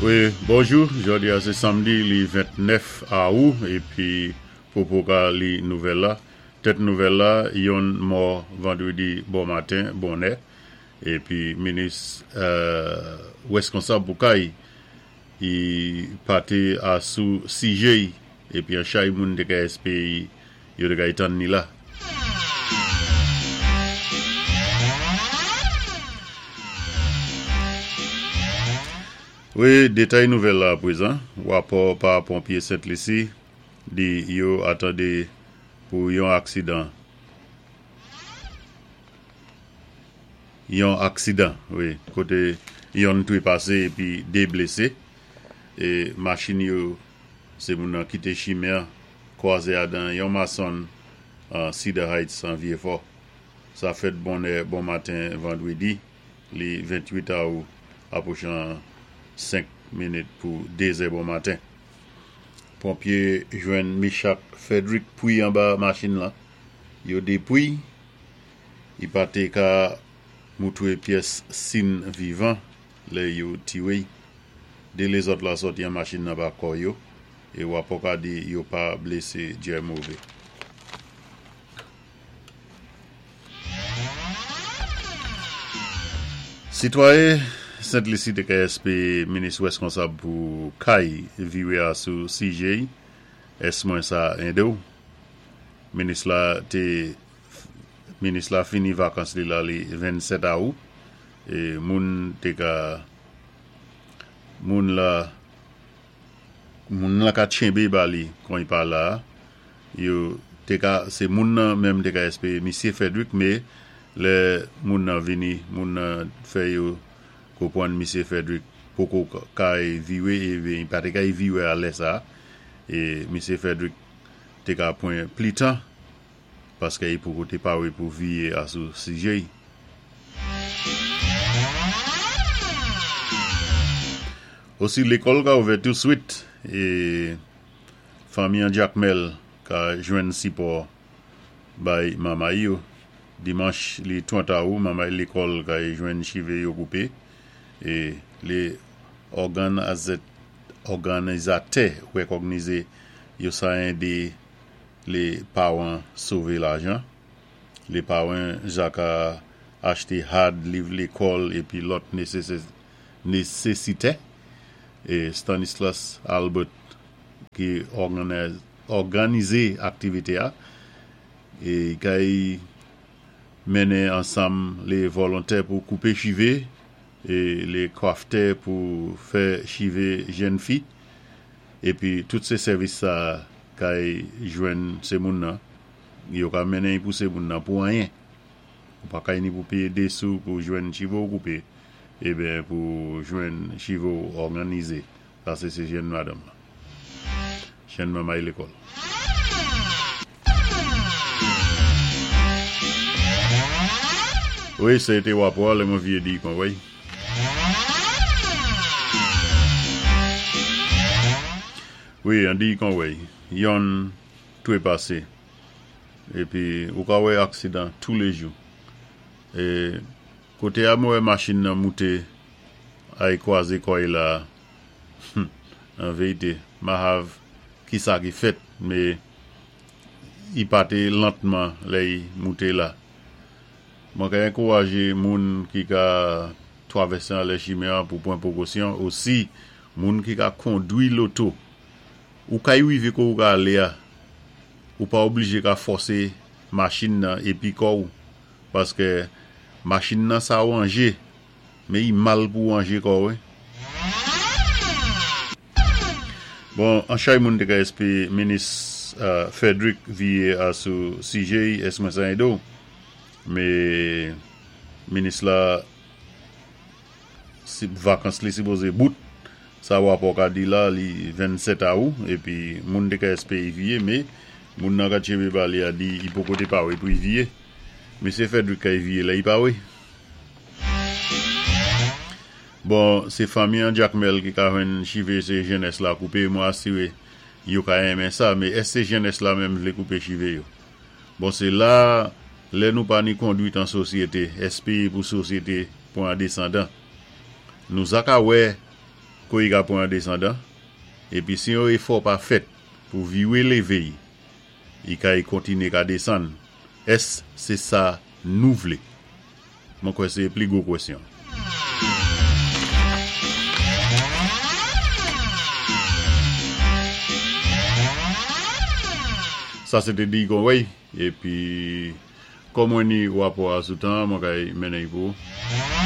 Wi, bonjou, jòdi a sé samdi li 29 awou épi popo ka li nouvèl la. Tèt nouvèl la, yonn mò vandrédi bon maten bonè épi minis wèskonsab pou kay i paté asou sijé y épi an chay moun té ka èspé yo té kay tann ni la. Wi, detay nouvèl la aprezan, Rapò pa ponpye Sent Lisi di yo atande pou yon aksidan yon aksidan wi kote yonn trepase epi 2 blese e machin yo se moun nan kite chimen an kwaze adan yon mason an Cedar Heights an Vyefò. Sa fèt bonè bon maten vandredi li 28 awou apwochan 5 minit pou 2 zè bon maten. Ponpye jwenn Michak Frederick pwi anba machin lan. Yo depwi, i pa te ka moutre pyès sin vivan lè yo tire y. 2 lezòt la sòti an machin nan pa kò yo e wa pòka di yo pa blese djè move. Sitwaye Sent Lisi te ka SP minis rèskonsab pou kay vire a sou sijè s mwen sa ende w. Minis la te minis la fini vakans li la li 27 awou e moun te ka Moun la moun lan ka tchenbe ba li kon i pa la a yo te ka se moun nan menm te ka espere misye Frederick me lè moun nan vini moun nan fè yo konpwann misye Frederick poko kay vire e i pa te kay vire a lè sa a e misye Frederick te ka pwan pli tan paske i poko te pare pou viye a sou sijè i. Osi lekòl ka ouvè tou swit e fanmi an Jakmèl ka jwenn sipò bay manmay yo. Dimanch li 30 awou manmay lekòl ka jwenn chive yo koupe e le òganizatè rekògnize yo sa ende Le paran sove lajan. Le paran ja ka achte had, liv lekòl epi lòt nesesite. E Stanislas Albert ki òganize aktivite a e kay mennen ansanm le volontè pou koupe chive e le kwaftè pou fè chive jenn fi. Epi tout se sèvis sa kay jwenn se moun nan yo ka mennen y pou se moun nan pou anyen ou pa kay ni pou peye 2 sou pou jwenn chive w koupe eben pou jwenn chive w òganize sa se se jenn madanm lan jenn manmay lekòl. Wi se te wapò a lè mwen vye di kon wey. Wi an di kon wey yonn trepase epi ou ka wè aksidan toulejou e kote a mwen wè machin nan moute ay kwaze kòy la humm an verite mahav kisa ki fèt me i pate lantman lè i moute la. Mwen ka enkouraje moun ki ka twavèse anlè chimen an pou pran pwokosyon, osi moun ki ka kondwi loto. Ou kay rive ko ou ka ale a, ou pa oblije ka fòse machin nan epi kò ou, paske machin nan sa wanje, men i mal pou wanje kò ou wi. Bon, an chay moun te ka espe minis Frederick viye a sou sijè es mwen sa ede w. Me minis la si vakans li sipoze bout sa wapò ka di la li 27 awou epi moun te ka espe i viye me moun nan ka tchebe ba li a di i poko te pare pou i viye. Mesye Frederick ka i viye lè i pare. Bon se fanmi an jakmel ki ka jwenn chive se jenès la koupe mwen asire yo ka renmen sa me èske jenès la menm vle koupe chive yo bon se la lè nou pa ni kondwit an sosyete espere pou sosyete pran desandan nou za ka wè. Kou i ka pwan an désandan, épi si yon éfò pa fèt pou viwé lévé-y, i kay kontiné ka désann. Ès sé sa nou vlé? Mwen kwè sé pli gwo kwèsyon. Sa sé té Dee Conway, épi kòm mwen ni wapò a sou tan, mwen kay mennen-y pou ou.